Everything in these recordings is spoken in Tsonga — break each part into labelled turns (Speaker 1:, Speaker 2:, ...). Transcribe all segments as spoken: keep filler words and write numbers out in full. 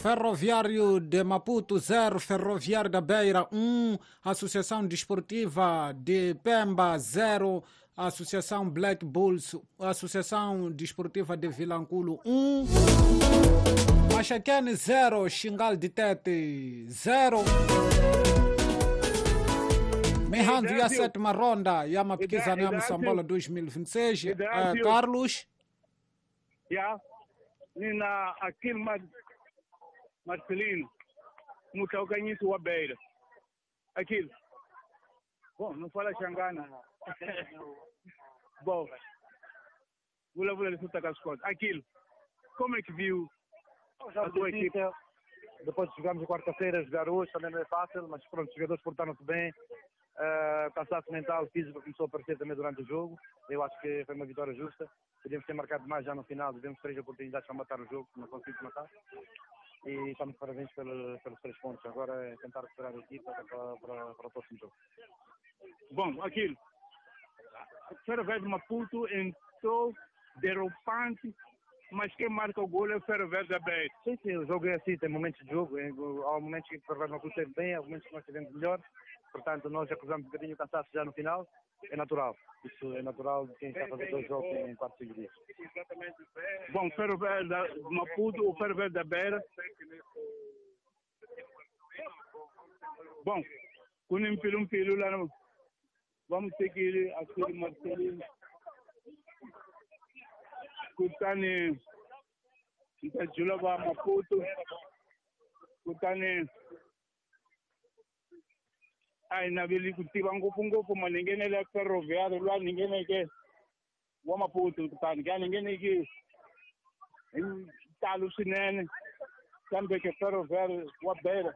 Speaker 1: Ferroviário de Maputo zero, Ferroviário da Beira um, Associação Desportiva de Pemba zero, Associação Black Bulls, Associação Desportiva de Vilanculo um, Maxaquene zero, Xingal de Tete zero. Mihandu ya sétima ronda ya mapikizano ya Moçambola dois mil e vinte e seis. Uh, Carlos?
Speaker 2: Ya, nina Aquil Marcelino, mutlaukanyiso wa Beira. Aquilo. Bom, não fala Xangana. Bom, vulavula leswi taka swi kota. Aquilo, como é que viu a tua equipe?
Speaker 3: Depois jogamos quarta-feira, jogar hoje também não é fácil, mas pronto, os jogadores portaram-se bem. Uh, cansaço mental, físico começou a aparecer também durante o jogo. Eu acho que foi uma vitória justa. Podíamos ter marcado mais já no final, tivemos três oportunidades para matar o jogo, não conseguimos matar. E estamos de parabéns pelos, pelos três pontos. Agora é tentar recuperar a equipa para, para, para o próximo jogo.
Speaker 2: Bom, aquilo. O Ferroviário de Maputo entrou derrubante, mas quem marca o gol é o Ferroviário da Beira.
Speaker 3: Sim, sim, o jogo é assim, tem momentos de jogo. Há momentos que o Ferroviário de Maputo esteve bem, há momentos que nós estivemos melhor. Portanto, nós acusamos um bocadinho o cansaço já no final. É natural. Isso é natural de quem está a fazer dois jogos em quatro, cinco dias.
Speaker 2: Bom, Ferroviário de Maputo, o Ferroviário da Beira. Bom, com um pilu, um pilu lá no... Vamos ter que ir aqui, Marcelinho. Kutani, Ntajulaba Maputo. Kutani, ai naveli ku tiva ngopfungopfu maninghenele ya Ferroviário lwa ningheneke wa Maputo kutani ka ningheneki hi ntalo swinene kambe ke Ferroviário wa Beira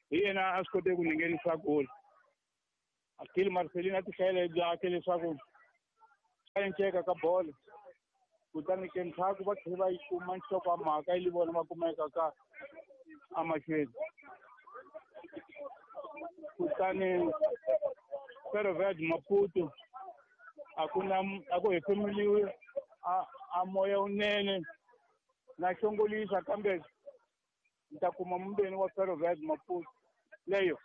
Speaker 2: hi yena a swi kote ku ninghenisa goli. Aquele Marcelino a ti hlayela hi byakhe leswaku a enceka ka bolo kutani ke ntlhaku va tlhela va yi kuma nhloko ya mhaka yi li vona va kumeka ka amahlweni. Kutani Ferroviário de Maputo a ku na a ku hefemuliwi a a moya wunene na xongolisa kambe ni ta kuma mumbeni wa Ferroviário de Maputo leyo.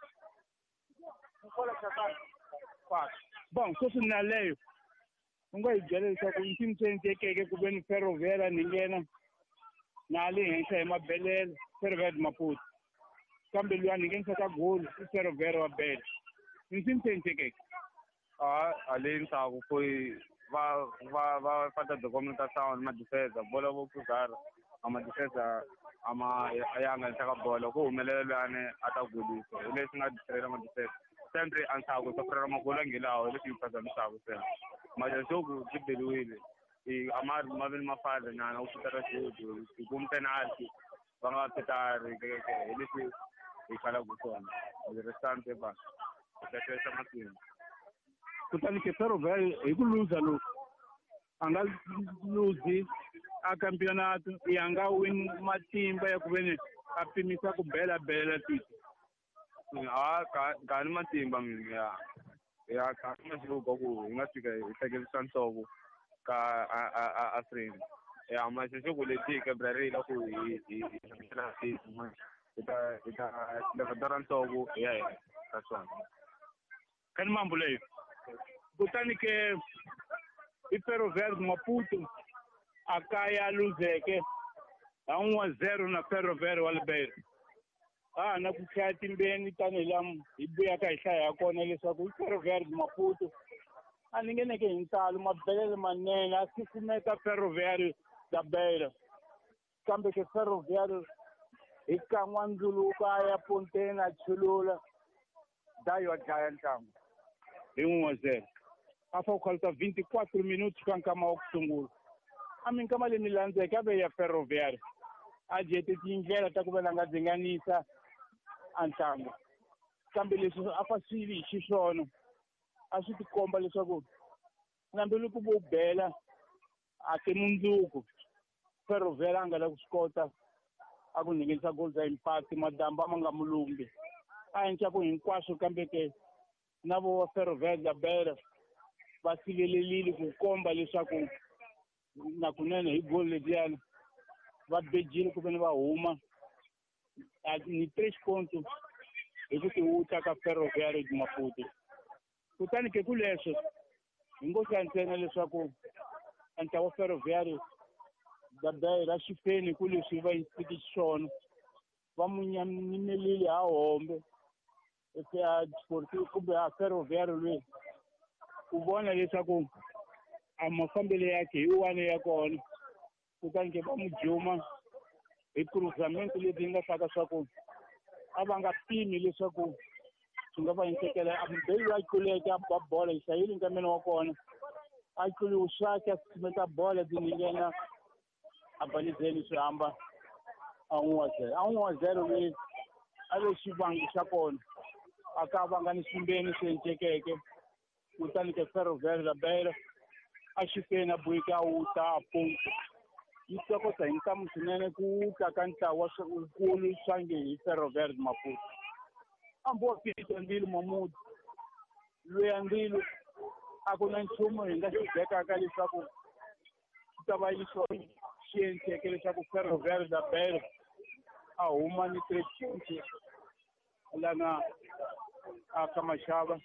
Speaker 2: Bom, sweswi na leyo u nga hi byela leswaku i ncini swi endlekeke ku ve ni Ferroviário ni nghena na le henhla hi mabelele Ferroviário de Maputo kambe luya ni nghenisaka goli i Ferroviário wa Beira. I ncini swi endlekeke?
Speaker 4: A le ndzhaku foi va va va fata documentation ma defense bola vo kuzara a ma defense a ma ya nga henhla ka bolo ku humelela luyani a ta golisa hi leswi nga distrela ma defense sempre antshaku sofrera magolo angilawo leswi yi phazamisaka se manje xoku byi beliwile i a ma ma vi ni mafadza nyana u xutara xudu hi kum penalty va nga petari hi leswi hi khalaka swona restante va ta matimba.
Speaker 2: Kutani ke Ferroviário hi ku luza loku a nga luzi a campeonato i a nga wini matimba ya ku ve ni a pimisa ku bela bela tiko.
Speaker 4: A ka ka ni matimba mina ya ya ka masiku ku hi nga fika hi hleketisa nhloko ka a a a a frame ya masiku leti ke brarila ku hi hi hi hi ta hi ta levantara nhloko ya hina ka swona
Speaker 2: ka ni mambo leyo. Kutani ke i Ferroviário de Maputo a kaya luzeke a um a zero na Ferroviário wa Beira. Ah, na ku hlaya timbeni tanihi laha hi vuyaka hi hlaya ha kona leswaku i Ferroviário de Maputo a ni ngheneke hi ntalo mabelele manene a susumeta Ferroviário da Beira kambe ke Ferroviário hi kan'wa ndzuluka a ya ponteni a chulula dayo a dlaya ntlangu hi um a zero. A fa ku khalisa vinte e quatro minutos ka nkama wa ku sungula. A minkama leyi mi landzeke a ve ya Ferroviário a jete tindlela ta ku va la nga dzinganisa a ntlangu kambe leswi a fa swi vi hi xiswona a swi tikomba leswaku hambiloko vo bela a ti mundzuku Ferroviário a nga la ku swi kota a ku nghenisa goal za impact madamba ma nga mulumbi a endla ku hinkwaswo kambe ke na vo Ferroviário da Beira va sivelelile ku komba leswaku na kunene hi goal lediyana va bejile ku veni va huma ni três pontos hi ku tiwuta ka Ferroviário de Maputo. Kutani ke ku leswo hi ngo hlaya ntsena leswaku ntlawa wa Ferroviário da Beira xifeni ku leswi va yisiki xiswona va munyamelile ha hombe eka Sportivo kumbe a Ferroviário loyi ku vona leswaku a mafambelo yakhe hi wani ya kona. Kutani ke va mu juma hi cruzamento leti yi nga hlaka swa ku a va nga pimi leswaku swi nga va hinsekela. A beyi a tluleke a ba bola yi hlayile nkameni wa kona a tluliwe swake a susumeta bola ti nghena a balizeni swi hamba a n'wi wa zero a n'wi wa zero loyi a ve xivangi xa kona a ka vanga ni swimbeni swi encekeke. Kutani ke Ferroviário da Beira a xifeni a boheke a wuta a ponto yi tokota hi ntamu swinene ku wuta ka ntlawa wukulu swange hi Ferroviário de Maputo. Hambi wa fika Ndilo Mahmud loyi a Ndilo a ku na nchumu hi nga xi bekaka leswaku swi ta va xi xi endleke leswaku Ferroviário da Beira a huma ni three points lana a ka maxava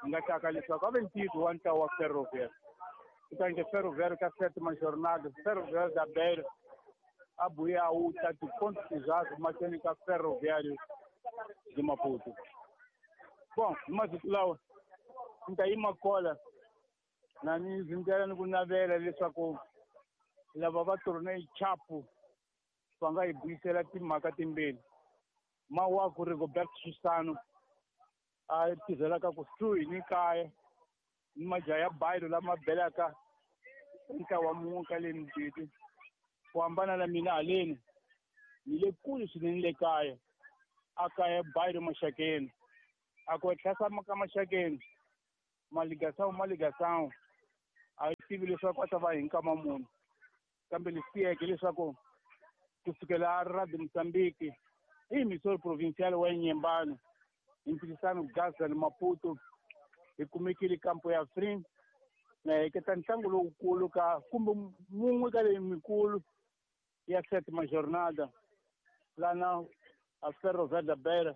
Speaker 2: hi nga taka leswaku a ve ntiyiso wa ntlawa wa Ferroviário. Kutani ke Ferroviário ka sétima jornada Ferroviário da Beira a buya a wuta tiponto exato mahlweni ka Ferroviário de Maputo. Bom, hi masiku lawa ni ta yima kola na ni zindela ni ku navela leswaku lava va tournée chapu va nga hi buyisela timhaka timbirhi. Mawaku Rigoberto Susano a tirhelaka kusuhi ni kaya ni majaha ya bayilo lama belaka ntlawa mun'we ka le Mdidi. Ku hambana na mina haleni ni le kule swinene le kaya a kaya bayilo Maxakeni a ku etlhasa ka Maxakeni maligasawu maligasawu a yi tivi leswaku a ta va hi nkama munhu kambe leswi tiyeke leswaku kusukela a Radio Mozambique i Missouri Provincial wa Inhambane hi mpikisano Gaza ni Maputo hi kumekile kampo ya Free na heketa ntlangu lowukulu ka kumbe mun'we ka leyi mikulu ya sétima jornada lana a Ferroviário da Beira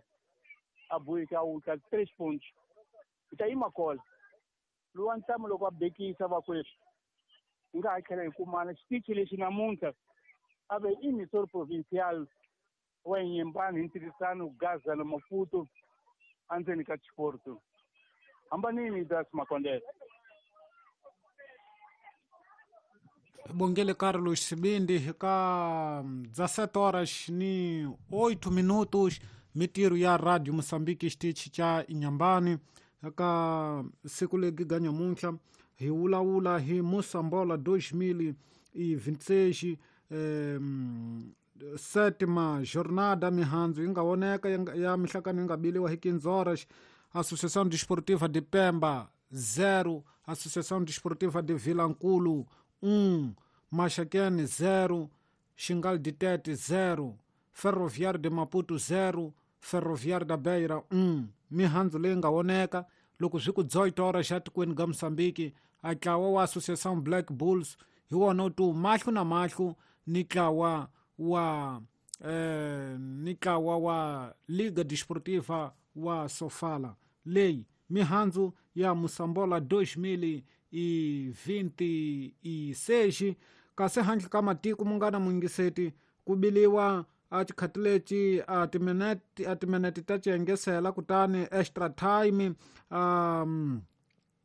Speaker 2: a boheke a wuta três pontos. Hi ta yima kola lowa ntamu loko a bekisa vakweswi hi nga ha tlhela hi kumana xitichi lexi namuntlha a ve i Missouri Provincial wa Inhambane hi ntirhisano Gaza na Maputo endzeni ka Chiporto. Hambanini Das Makondele.
Speaker 1: Bongele Carlos Sibindi ka dezessete horas ni oito minutos mitiro ya Radio Moçambique xitichi cha Inhambane ka siku legi ga nyamuntlha hi vulavula hi Moçambola dois mil e vinte e seis eh, sétima jornada mihandzu yi nga voneka ya mihlakano yi nga biliwa hi quinze horas. Associação Desportiva de Pemba zero, Associação Desportiva de Vilanculo um, Maxaquene zero, Xingal de Tete zero, Ferroviário de Maputo zero, Ferroviário da Beira um. Mihandzu leyi nga voneka loko swi ku dezoito horas xa tikweni ga Moçambique a ntlawa wa Associação Black Bulls hi wona wu tu mahlo na mahlo ni ntlawa wa eh, ni ntlawa wa Liga Desportiva wa Sofala. Leyi mihandzu ya Moçambola dois mil e vinte e seis. Kasi handle ka matiko munghana mungiseti ku biliwa a tikhati leti a timinete a timinete ta ciyengesela kutani extra time um,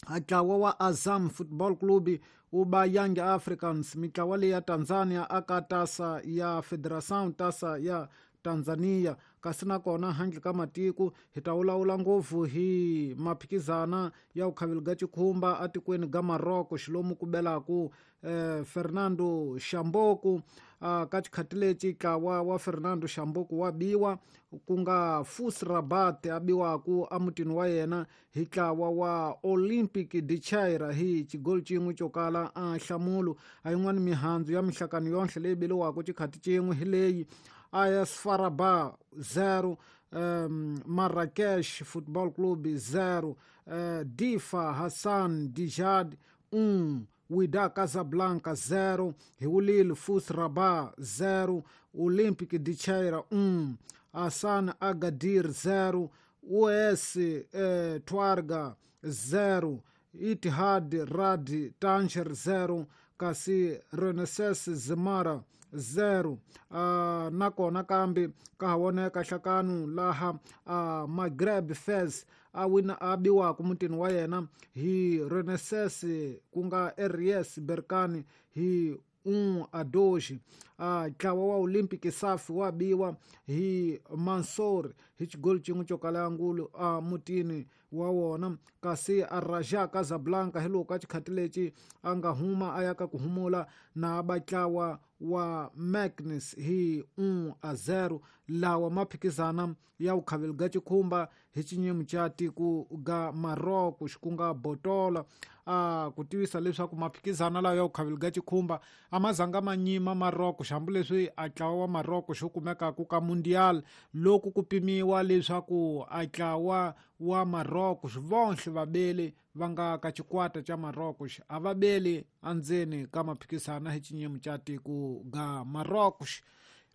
Speaker 1: a ntlawa wa Azam Football Club wu ba Young Africans mitlawa leyi ya Tanzania aka tasa ya Federação tasa ya Tanzania. Kasi nakona handle ka matiko hi ta vulavula ngopfu hi maphikizana ya vukhaveli ga cikhumba atikweni ga Morocco xilomu ku belaku eh, Fernando Shamboku. Uh, ka xikhati lexi ntlawa wa Fernando Shamboku wa biwa ku nga Fus Rabat a biwaku emutini wa yena hi ntlawa wa Olympic de Chaira hi xigoli xin'we xo kala a nhlamulo. A yin'wani mihandzu ya mihlakano yonhle leyi biliwaka xikhati xin'we hi leyi: A S Faraba zero, um, Marrakech Football Club zero, uh, Difa Hassan Dijad um, Wydad Casablanca zero, Hiwulil Fus Rabat zero, Olympic de Cheira um, Hassan Agadir zero, U S eh, Tuarga zero, Itihad Rad Tanger zero, kasi Renaissance Zemara zero. Uh, nakona kambe ka ha voneka hlakanu laha uh, Maghreb Fez a wina a biwaku mutini wa yena hi Renaissance ku nga R S Berkane hi um a dois. Uh, ntlawa wa Olympic Safi wa biwa hi Mansour hi xigoli xin'we xo kala ngulu a mutini wa wona, kasi a Raja Casablanca hi loko ka xikhati lexi a nga huma a ya ka ku humula na vatlawa wa Magnus hi um a zero. Lawa maphikizana ya vukhaveli ga xikhumba hi xinyimi xa tiko ga Morocco ku nga Botola. A ku tivisa leswaku maphikizana lawa ya vukhaveli ga xikhumba a ma zanga ma nyima Morocco hambileswi a ntlawa wa Morocco xo kumekaka ka Mundial loko ku pimiwa leswaku a ntlawa wa Morocco vonhle vabeli va nga ka xikwata xa Morocco a va beli endzeni ka maphikizana hi xinyimi xa tiko ga Morocco.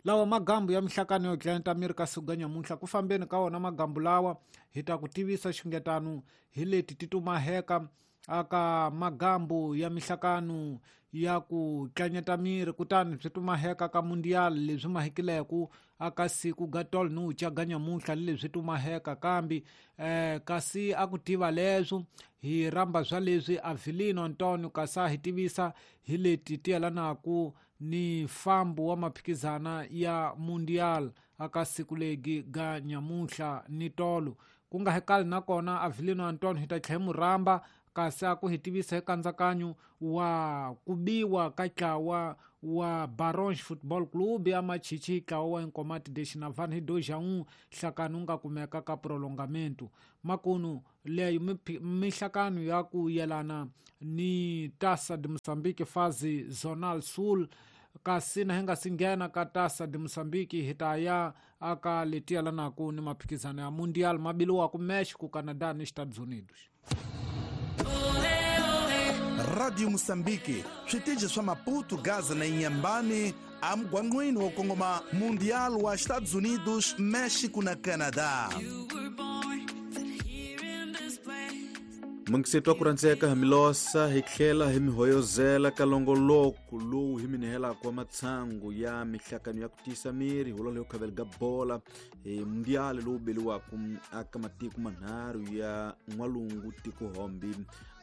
Speaker 1: Lawa magambu ya mihlakano yo dlaya miri ka siku ga nyamuntlha ku fambeni ka wona magambu lawa hi ta ku tivisa xingetano hi leti ti tumaheka aka magambu ya mihlakano ya ku tlanyeta miri, kutani swi tumaheka ka Mundial leswi mahikileku aka siku ga tolo ni ucha ga nyamuntlha leswi tumaheka kambe eh, kasi a ku tiva leswo hi rhamba swa leswi Avelino Antonio kasi a hi tivisa hi leti ti yelanaku ni fambo wa maphikizana ya Mundial aka siku legi ga nyamuntlha ni tolo. Ku nga hekali nakona Avelino Antonio hi ta tlhela mu rhamba kasi a ku hi tivisa hi nkatsakanyo wa ku biwa ka ntlawa wa Barons Football Club ya Machichi ntlawa wa Nkomati de Xinavani hi dois a um nhlakano wu nga kumeka ka prolongamento. Makunu leyo mihlakano ya ku yelana ni Taça de Moçambique fase Zonal Sul, kasi na hi nga si nghena ka Taça de Moçambique hi ta ya aka leti yelanaku ni maphikizano ya Mundial mabiliwaku Mexico, Canada ni Estados Unidos.
Speaker 5: Radio Moçambique, switeji swa Maputo, Gaza na Inhambane, amgwangwini wo kongoma Mundial wa Estados Unidos, México na Canadá.
Speaker 6: Mungisetwa ku rhandzeka hi milosa hi tlhela hi mihoyozela ka longoloko lowu hi minihelaka wa matshangu ya mihlakano ya ku tiyisa miri hulo leyo khaveli ga bola hi mundial lowu beliwaka aka matiko manharhu ya n'walungu tikohombi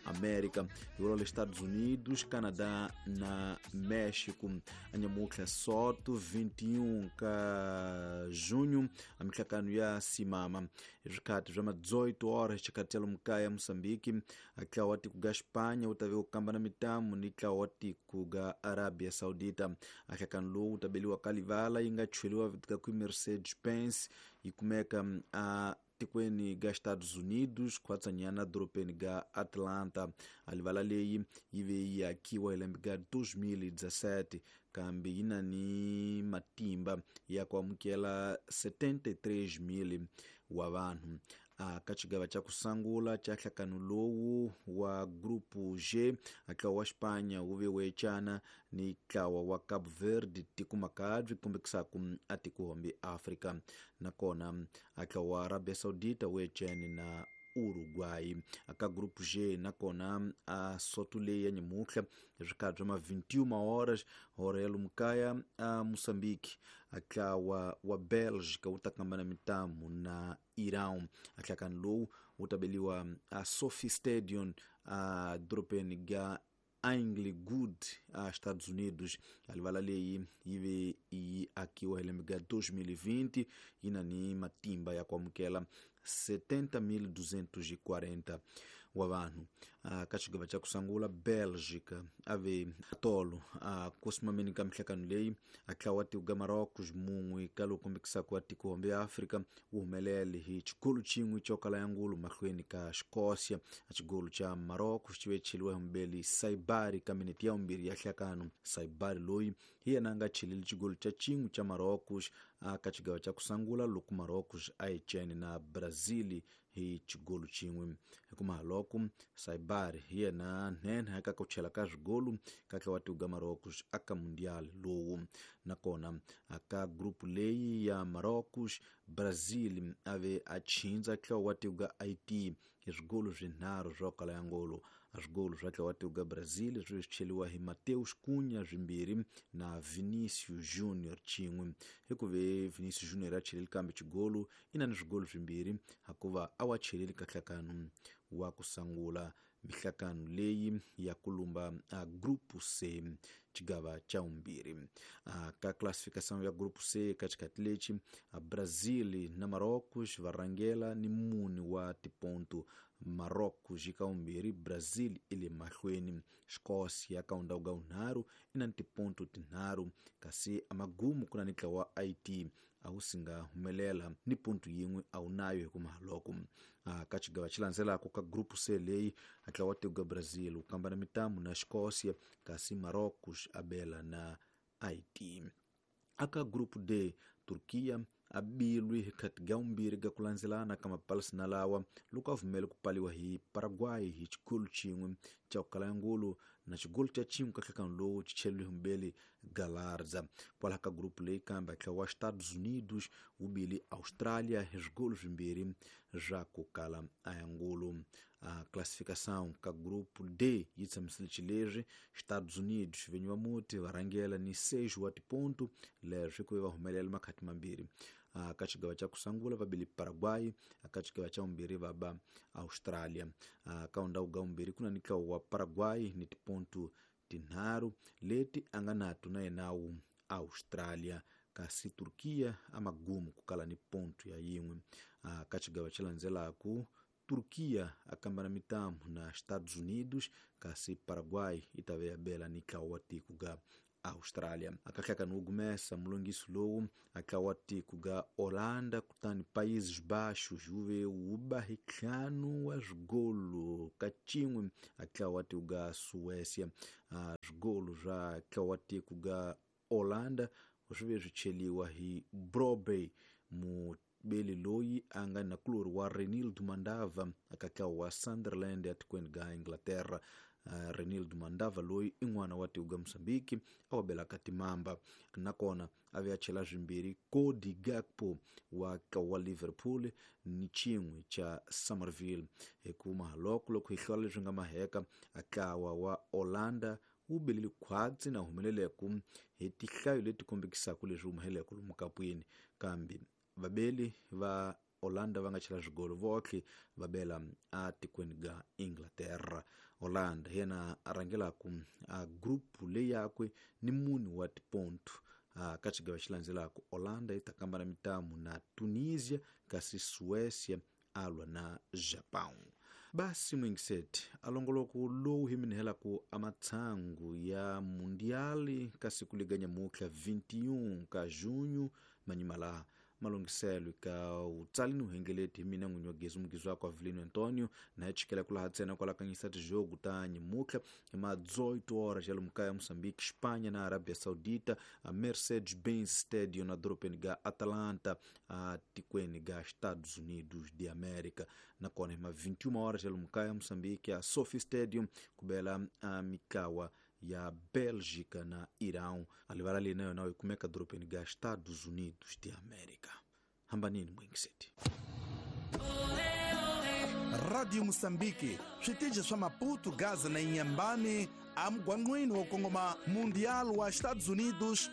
Speaker 6: América, hi Estados Unidos, Canadá na México. Anyamutlha soto vinte e um ka junho a mihlakano ya simama swikhati swa ma dezoito horas xikhathi xa lomu kaya Moçambique a ntlawa wa tiko ga Espanha wu ta ve wu kamba na mitamu ni ntlawa wa tiko ga Arabia Saudita. A nhlakano lowu wu ta beliwa ka livala yi nga chweliwa ka ku Mercedes-Benz yi kumeka a tikweni ga Estados Unidos khwatsanyana dorobeni ga Atlanta. A livala leyi yi ve yi akiwa hi lembe ga dois mil e dezessete kambe yi na ni matimba ya ku amukela setenta e três mil wa vanhu. A ka xigava xa ku sungula xa nhlakano lowu wa grupo G a ntlawa wa Espanha wu ve wecana ni ntlawa wa Cabo Verde tiko makabyi kombekisaka a tikohombi Afrika, nakona a ntlawa wa Arabia Saudita wu ecene na Uruguay. Aka grupo G nakona a soto leyi ya nyamutlha swikhati swa ma vinte e uma horas hora ya lomu kaya a Moçambique a ntlawa wa Bélgica wu ta kamba na mitamu na Irão. A nhlakano lowu wu ta beliwa a Sophie Stadium a dorobeni ga Inglewood a Estados Unidos. A livala leyi yi ve yi akiwa hi lembe ga dois mil e vinte yi na ni matimba ya ku amukela setenta mil duzentos e quarenta wa vanhu. Ka xigava xa ku sungula Bélgica a ve tolo a ku simameni ka mihlakano leyi a ntlawa wa tiko ga Marocos mun'we ka lowu kombekisaka wa tikohombe ya Afrika wu humelele hi xigolo xin'we xo kala ya ngulu mahlweni ka Escócia. A xigolo xa Marocos xi ve cheliwa hi mubeli Saibari ka minete ya vumbirhi ya nhlakano. Saibari loyi Hi yena a nga cheleli xigolo xa xin'we xa Marrocos aka xigava xa ku sungula loko Marrocos a yi cene na Brazil hi xigolo xin'we. Hikuva loko Saibari hi yena nhenha eka ku chela ka swigolo ka tlawa tiuga Marrocos aka Mundial lowu. Nakona aka group leyi ya Marrocos, Brazil a ve a chinza tlawa tiuga Haiti hi swigolo swinharhu swo kala ya ngolo. A swigolo swa tlawa tiuga Brazil swi cheliwa hi Mateus Cunha swimbirhi na Vinicius Junior xin'we. Hikuva Vinicius Junior a cheleli kambe xigolo i na ni swigolo swimbirhi hikuva a wa cheleli ka nhlakano wa ku sungula mihlakano leyi ya ku lumba a Grupo C xigava xa vumbirhi. Ka classificação ya Grupo C ka xikhathi lexi a Brazil na Marrocos va rhangela ni mune wa tiponto. Marrocos yi ka vumbirhi, Brazil i le mahlweni, Escócia ka ndhawu ka vunharhu i na tiponto tinharhu, kasi amagumu ku na ni ntlawa wa Haiti a wu si nga humelela ni ponto yin'we a wu nayo hikuva loko ka xigava xi landzelaka ka Grupo C leyi a ntlawa wa tiko ka Brazil wu kamba na mitamu na Escócia, kasi Marrocos a bela na Haiti. Aka Grupo D, Turquia a bilwi hi khati ga vumbirhi ga ku landzelana ka mapalasi lawa loko a vumele ku paliwa hi Paraguay hi xigolo xin'we xa ku kala ngolo na xigolo xa xin'we ka nhlakano lowu xi cheliwe hi mubeli Galarza. Kwalaho ka grupu leyi kambe ntlawa wa Estados Unidos wu bile Australia hi swigolo swimbirhi swa ku kala ngolo. A classificação ka grupo D yi tshamisile xileswi: Estados Unidos vinyi va muti va rhangela ni seis wa tiponto leswi ku va humelela makhati mambirhi. Ka xigava xa ku sungula va bile Paraguay, ka xigava xa vumbirhi va ba Australia. Ka ndhawu ga vumbirhi ku na ni ntlawa wa Paraguay ni tiponto tinharhu leti a nga nato na yena wu Australia, kasi Turquia a magumu ku kala ni ponto ya yin'we. Ka xigava xi landzelaka Turquia a kamba na mitamu na Estados Unidos, kasi Paraguay yi ta ve ya bela ni ntlawa wa tiko ga Australia. Akahlakano wu gumesa mulongiso lowu a ntlawa wa tiko ga Holanda kutani Países Baixos wu ve wu ba hi ntlhanu wa swigolo ka xin'we a ntlawa wa tiko ga Suécia. Swigolo swa ntlawa wa tiko ga Holanda swi ve swi cheliwa hi Brobey mubeli loyi a nga na kulori wa Renildo Mandava aka ntlawa wa Sunderland etikweni ga Inglaterra. Uh, Renildo Mandava loyi i n'wana wa tiko ga Mozambique a wa belaka timamba, nakona a ve a chela swimbirhi Cody Gakpo wa wa Liverpool ni xin'we xa Somerville. Hikuva loko loko hi hlola leswi nga maheka a ntlawa wa Holanda wu belele khwatsi na humeleleku hi tihlayo leti kombekisaka leswi humeleleke lomu kapwini, kambe vabeli va Holanda va nga chela swigolo votlhe va bela a tikweni ga Inglaterra. Holanda hi yena a rhangelaka a group leyi yakwe ni mune wa tiponto. Ka xigava xi landzelaka Holanda yi ta kamba na mitamu na Tunisia, kasi Suécia a lwa na Japão. Basi mwingiseti alongoloko lowu hi minihelaku amatsangu ya Mundiali kasi kuliganya mutlha vinte e um ka junho manyima laha malungiselo ka utsalini uhengeleti hi mina n'winyi wa gezi mugizi wakwe Avelino Antonio na chikela kula ntsena kwala kanyisa tijogo ta nyimutlha hi ma dezoito horas ya lomu kaya Moçambique, Espanha na Arábia Saudita, a Mercedes-Benz Stadium na dorobeni ga Atlanta, a tikweni ga Estados Unidos de América. Nakona hi ma vinte e uma horas ya lomu kaya Moçambique, a Sophie Stadium kubela a mikawa ya Bélgica na Irão. A livala ali na yona yi kumeka dorobeni ga Estados Unidos de América. Hambanini mwingiseti.
Speaker 5: Radio Moçambique, switichi swa Maputo, Gaza na Inhambane, amugwangwini wo kongoma Mundial wa Estados Unidos.